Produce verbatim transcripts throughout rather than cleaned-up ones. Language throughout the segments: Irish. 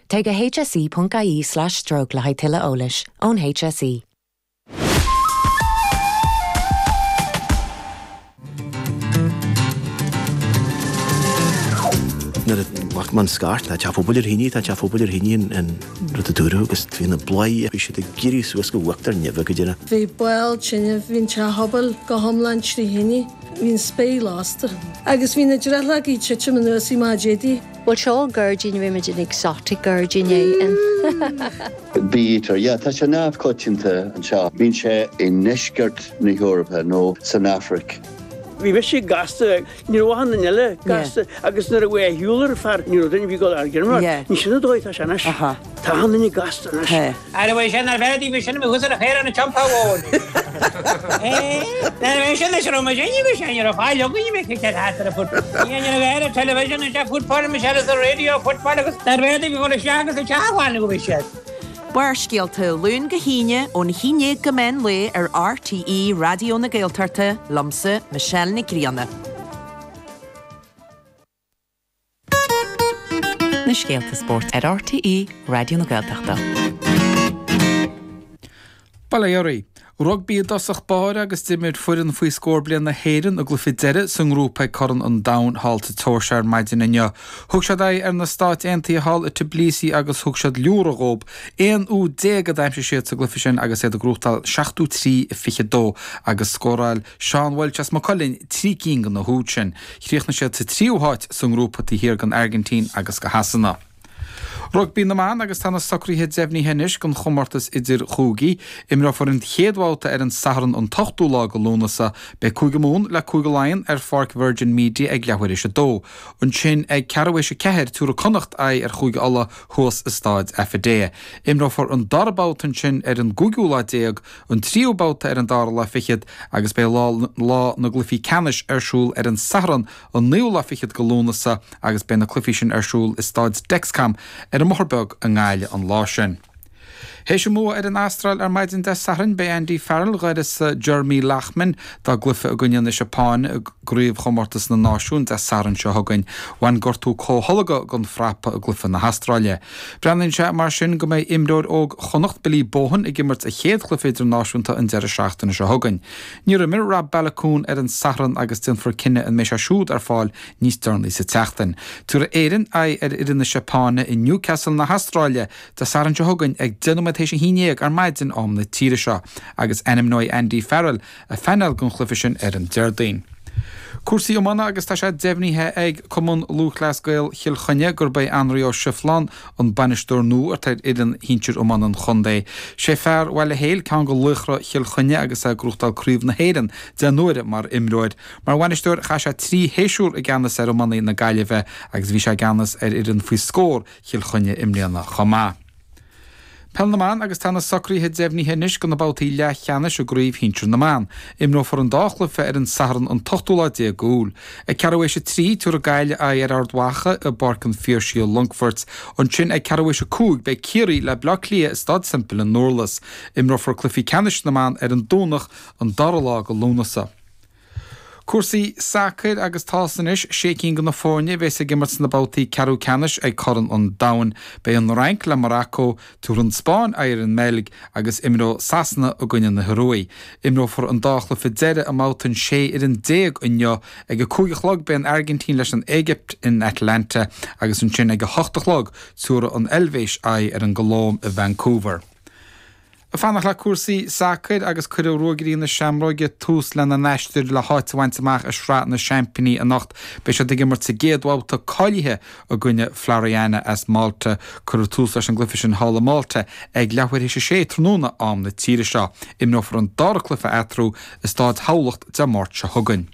Téigh go hse.ie slash stroke le haghaidh tuilleadh eolais ón HSE. Nuair a bhac mé an scairt, tá teach pobail ar thine, tá teach pobail ar thine an rud a dúradh agus bhí na bladhairí, bhí siad ag éirí suas go uachtar neimhe go deireadh. Bhí baol tine, bhí an teach pobail go hiomlán trí thine, bhí an spéir lasta agus bhí na drithleogaí ag titim anuas i maidí éadaí. Bhuel seo gairdín bhí muid in exotic gairdín é in. Bee-eater, yeah, tá sé neamhchoitianta anseo. Bíonn sé i ndeisceart na hEorpa nó san Afraic. Bhí mise gasta, ní raibh achan duine eile gasta agus nuair a bhí a shiúl ar fear, ní raibh duine a bhí ag dul ar ghiormar. Ní sin an dóigh atá sé anois. Tá achan duine gasta anois. Ara bhí sin ar bheith bhí sin thuas ar a chéire na Teampall Mhóir. Nuair a bhí sin is raibh muid inniu bhí sin ar fáil againn bhí cic ar thart ar a foot. Ní an raibh ar television is a football Michelle is a radio football agus ar bheith bhí dul isteach agus isteach amháin go bhí siad. Barrscéalta, Luan go hAoine, ón haon déag go meán lae ar RTÉ Raidió na Gaeltachta, liomsa, Michelle Nic Grianna. Na scéalta spóirt ar RTÉ Raidió na Gaeltachta. Bail ó Dhia oraibh. Rugbaí i dtosach báire agus d'imir foireann faoi scór bliain na hÉireann a gcluiche deiridh sa ngrúpa ag Corn an Domhain thall sa tSeoirsia ar maidin inniu. Thug siad aghaidh ar na Stáit Aontaithe thall i Tbilisi agus thug siad liúradh dhóib. Aon úd déag a d'aimsigh siad sa gcluiche sin agus iad ag gnóthachtáil seachtó trí a fiche dó agus scóráil Seán Walsh as Maigh Cuilinn trí cinn de na húid sin. Chríochnaigh siad sa tríú háit sa ngrúpa taobh thiar den Airgintín agus de Shasana. Rugbaí na mBan agus tá na socruithe deimhnithe anois don chomórtas idir-chúigí. Imreofar an chéad bhabhta ar an Satharn an t-ochtú lá de Lúnasa. Beidh Cúige Mumhan le Cúige Laighean ar pháirc Virgin Media ag leathuair théis a dó. Ansin ag ceathrú théis a ceathair tabharfaidh Connacht aghaidh ar Chúige Uladh thuas i Stáid Affidea. Imreofar an dara babhta ansin ar an gcúigiú lá déag, an tríú babhta ar an dara lá fichead agus beidh lá lá na gcluichí ceannais ar siúl ar an Satharn an naoú lá fichead de Lúnasa agus beidh na cluichí sin ar siúl i Stáid Dexcom ar an mBóthar Beag i nGaillimh an lá sin. Théis a mbua ar an Astráil ar maidin Dé Sathairn, beidh Andy Farrell d'uireasa Jeremy Loughman dá gcluiche i gcoinne na Seapáine i gCraobhchomórtas na Náisiún Dé Sathairn seo chugainn. Bhain gortú comhtholgtha den phrapa i gcluiche na hAstráile. Breathnaíonn sé mar sin go mbeidh imreoir óg Chonnacht, Billy Bohan, ag imirt a chéad chluiche idirnáisiúnta an deireadh seachtaine seo chugainn. Níor imir Rob Baloucoune ar an Satharn agus déanfar cinneadh an mbeidh sé siúd ar fáil níos deireanaí sa tseachtain. Tabharfaidh Éirinn aghaidh ar fhoireann na Seapáine i Newcastle na hAstráile Dé Sathairn seo chugainn ag deich nóiméad théis a haon déag ar maidin am na tíre seo agus ainmneoidh Andy Farrell a phainéal don chluiche sin ar an Déardaoin. Cúrsaí iomána agus tá sé deimhnithe ag Cumann Lúthchleas Gael Chill Chainnigh gurb é Anraí Ó Sifleáin an bainisteoir nua atá ar fhoireann shinsir iomána an chontae. Sé fear Bhaile Héil ceann de laochra Chill Chainnigh agus é ag gnóthachtáil Craobh na hÉireann deich n-uaire mar imreoir. Mar bhainisteoir chaith sé trí shéasúr i gceannas ar iománaí na Gaillimhe agus bhí sé i gceannas ar fhoireann faoi scór Chill Chainnigh i mbliana chomh maith. Peil na mBan agus tá na socruithe deimhnithe anois do na babhtaí leathcheannais i gCraobh Shinsir na mBan. Imreofar an dá chluiche ar an Satharn an t-ochtú lá déag Iúil. Ag ceathrú théis a trí, tabharfaidh Gaillimh aghaidh ar Ard Mhacha i bPáirc an Phiarsaigh i Longfort. Ansin ag ceathrú théis a cúig beidh Ciarraí le Bleá Cliath i Staid Semple i nDurlas. Imreofar cluichí ceannais na mban ar an Domhnach an dara lá de Lúnasa. Cúrsaí sacair agus tá's anois, sé cinn de na foirne a bheas ag imirt sna babhtaí ceathrú ceannais ag Corn an Domhain. Beidh an Fhrainc le Morocco, tabharfaidh an Spáinn aghaidh ar an mBeilg agus imreoidh Sasana i gcoinne na hIorua. Imreofar an dá chluiche deiridh i mbabhta an sé fhoireann déag inniu. Ag a cúig a chlog beidh an Airgintín leis an Éigipt in Atlanta agus ansin ag a hocht a chlog tabharfaidh an Eilvéis aghaidh ar an gColóim i Vancouver. Ag fanacht le cúrsaí sacair agus cuirfidh Ruagairí na Seamróige tús lena n-aistear le háit a bhaint amach i Sraith na Seaimpíní anocht. Beidh siad ag imirt sa gcéad bhabhta cáilithe i gcoinne Floriana as Malta. Cuirfear tús leis an gcluiche sin thall i Malta ag leathuair théis a sé tráthnóna am na tíre seo. Imreofar an dara cluiche eatarthu i Staid Thamhlacht Dé Máirt seo chugainn.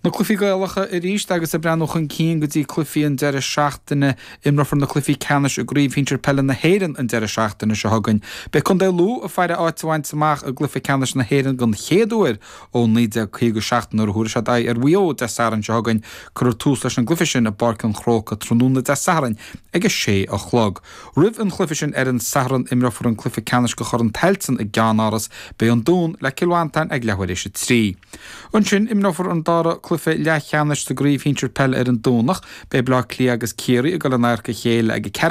Na cluichí Gaelacha arís agus ag breathnú chun cinn go dtí cluichí an deireadh seachtaine. Imreofar na cluichí ceannais i gCraobh Shinsir Peile na hÉireann an deireadh seachtaine seo chugainn. Beidh Contae Lú ag faire áit a bhaint amach i gcluiche ceannais na hÉireann den chéad uair ó naoi déag caoga a seacht nuair a thabharfaidh siad aghaidh ar Mhaigh Eo Dé Sathairn seo chugainn. Cuirfear tús leis an gcluiche sin i bPáirc an Chrócaigh tráthnóna Dé Sathairn ag a sé a chlog. Roimh an chluiche sin ar an Satharn imreofar an cluiche ceannais de Chorn Tailteann i gceannáras. Beidh an Dún le Cill Mhantáin ag leathuair théis a trí. Ansin, imreofar an dara cluiche leathcheannais sa gCraobh Shinsir Peile ar an Domhnach. Beidh Baile Átha Cliath agus Ciarraí ag dul in adharca a chéile ag a ceathrú.